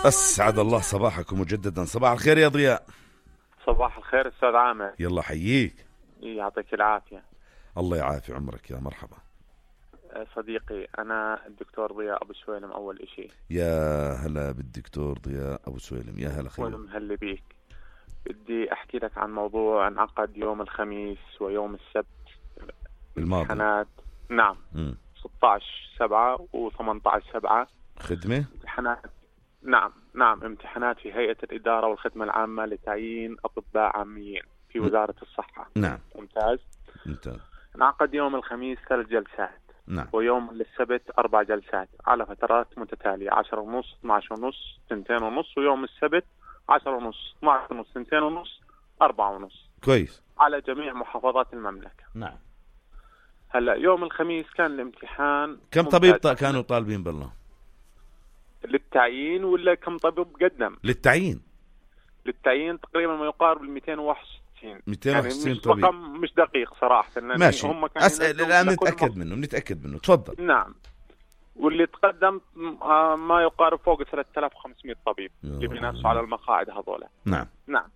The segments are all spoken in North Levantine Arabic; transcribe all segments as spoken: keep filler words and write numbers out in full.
أسعد الله صباحكم مجددا. صباح الخير يا ضياء. صباح الخير أستاذ عامر. يلا حييك. يعطيك العافية. الله يعافي عمرك يا مرحبا صديقي. أنا الدكتور ضياء أبو سويلم. أول إشي يا هلا بالدكتور ضياء أبو سويلم. يا هلا خير. ومهلا بيك. بدي أحكي لك عن موضوع انعقد يوم الخميس ويوم السبت الماضي. امتحانات. نعم. م. ستة عشر سبعة و ثمانية عشر سبعة خدمة. امتحانات. نعم نعم امتحانات في هيئة الإدارة والخدمة العامة لتعيين أطباء عاميين في وزارة الصحة. نعم. ممتاز ممتاز. انعقد يوم الخميس ثلاث جلسات. نعم. ويوم السبت أربع جلسات على فترات متتالية، عشرة ونص، اثناشر ونص، سنتين ونص، ويوم السبت عشرة ونص، اثناشر ونص، سنتين ونص، أربعة ونص. كويس. على جميع محافظات المملكة. نعم. هلا يوم الخميس كان الامتحان. كم طبيب كانوا طالبين بالله؟ للتعيين ولا كم طبيب قدم؟ للتعيين. للتعيين تقريبا ما يقارب ال مئتين وواحد وستين. مئتين وواحد وستين يعني طبيب. رقم مش دقيق صراحة. ماشي. هم أسأل الآن نتأكد منه نتأكد منه تفضل. نعم. واللي تقدم ما يقارب فوق ثلاثة آلاف وخمسمئة طبيب اللي بينافسوا على المقاعد هذولا. نعم. نعم.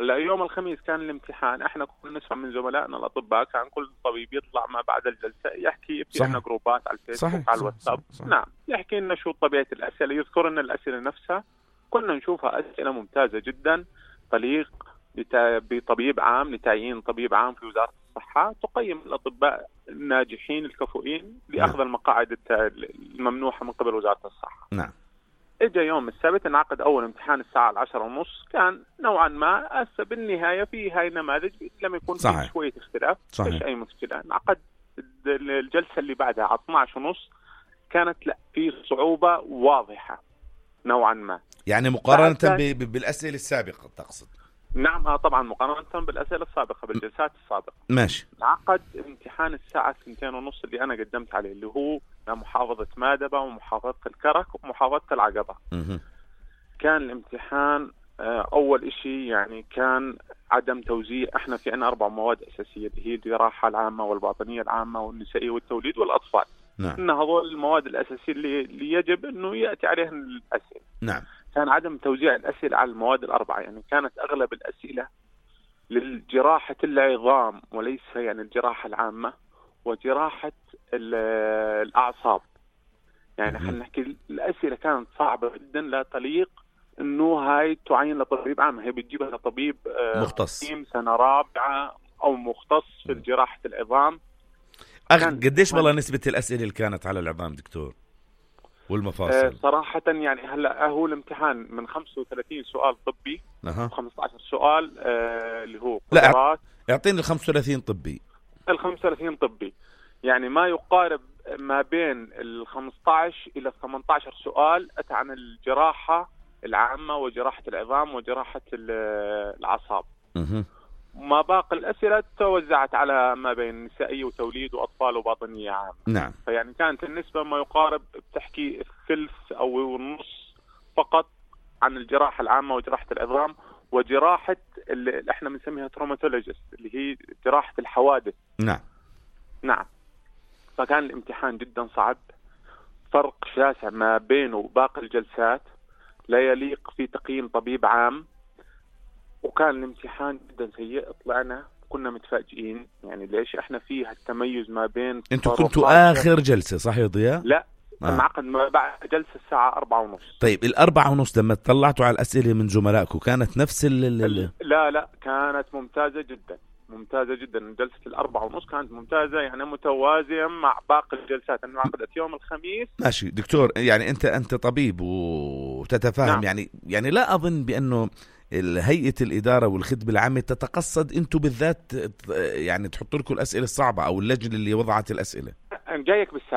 هلا يوم الخميس كان الامتحان. احنا كنا نسمع من زملائنا الاطباء كان كل طبيب يطلع ما بعد الجلسه يحكي في عنا جروبات على الفيسبوك. صحيح. على الواتساب. صحيح. صحيح. نعم. يحكي لنا شو طبيعه الاسئله، يذكر لنا الاسئله نفسها. كنا نشوفها اسئله ممتازه جدا تليق بطبيب عام، لتعيين طبيب عام في وزاره الصحه، تقيم الاطباء الناجحين الكفؤين لاخذ نعم. المقاعد الممنوحه من قبل وزاره الصحه. نعم. اجى يوم السبت انعقد اول امتحان الساعه العشرة ونص. كان نوعا ما هسه بالنهايه في هاي النماذج لم يكن في شويه اختلاف. مش اي مشكله. انعقد الجلسه اللي بعدها على اثناشر ونص. كانت لا في صعوبه واضحه نوعا ما. يعني مقارنه ب... بالاسئله السابقه تقصد؟ نعم. اه طبعا مقارنه بالاسئله السابقه بالجلسات السابقه. ماشي. انعقد امتحان الساعه اثنتين ونص اللي انا قدمت عليه، اللي هو محافظه مادبه ومحافظه الكرك ومحافظه العقبه. م- كان الامتحان اول اشي يعني كان عدم توزيع. احنا في عنا اربع مواد اساسيه اللي هي الجراحه العامه والباطنيه العامه والنسائيه والتوليد والاطفال. نعم. ان هذول المواد الاساسيه اللي, اللي يجب انه ياتي عليها الاسئله. نعم. كان عدم توزيع الاسئله على المواد الاربعه. يعني كانت اغلب الاسئله للجراحه العظام وليس يعني الجراحه العامه وجراحه الاعصاب. يعني احنا نحكي الاسئله كانت صعبه جدا لا تليق انه هاي تعين لطبيب عام. هي بتجيبها لطبيب مختص سنه رابعه او مختص في جراحه العظام. أخ... قديش والله نسبه الاسئله اللي كانت على العظام دكتور والمفاصل؟ آه صراحه يعني هلا هو الامتحان من خمسة وثلاثين سؤال طبي أه. خمسة عشر سؤال آه اللي هو لا اعطيني ال خمسة وثلاثين طبي. ال خمسة وثلاثين طبي يعني ما يقارب ما بين ال خمسة عشر الى ثمانية عشر سؤال اتى عن الجراحه العامه وجراحه العظام وجراحه الاعصاب. اها. ما باقي الاسئله توزعت على ما بين نسائيه وتوليد واطفال وباطنيه عامه. نعم. فيعني كانت النسبه ما يقارب بتحكي الثلث او النص فقط عن الجراحه العامه وجراحه العظام وجراحه اللي احنا بنسميها تروماتولوجيست اللي هي جراحه الحوادث. نعم. نعم. فكان الامتحان جدا صعب، فرق شاسع ما بينه وباقي الجلسات لا يليق في تقييم طبيب عام. وكان الامتحان جدا سيء. طلعنا كنا متفاجئين يعني ليش احنا فيه التميز ما بين. انتوا كنتوا اخر جلسة صح يا ضياء؟ لا انعقد آه. بعد جلسة الساعة أربعة ونص. طيب الأربعة ونص لما طلعتوا على الأسئلة من زملائكم كانت نفس ال لا لا كانت ممتازة جدا ممتازة جدا. جلسة الأربعة ونص كانت ممتازة يعني متوازية مع باقي الجلسات أنه عقدت يوم الخميس. ماشي دكتور. يعني أنت أنت طبيب وتتفاهم. نعم. يعني يعني لا أظن بأنه هيئة الإدارة والخدمة العامة تتقصد أنتوا بالذات يعني تحطوا لكم الأسئلة الصعبة أو اللجنة اللي وضعت الأسئلة. جايك بالسادس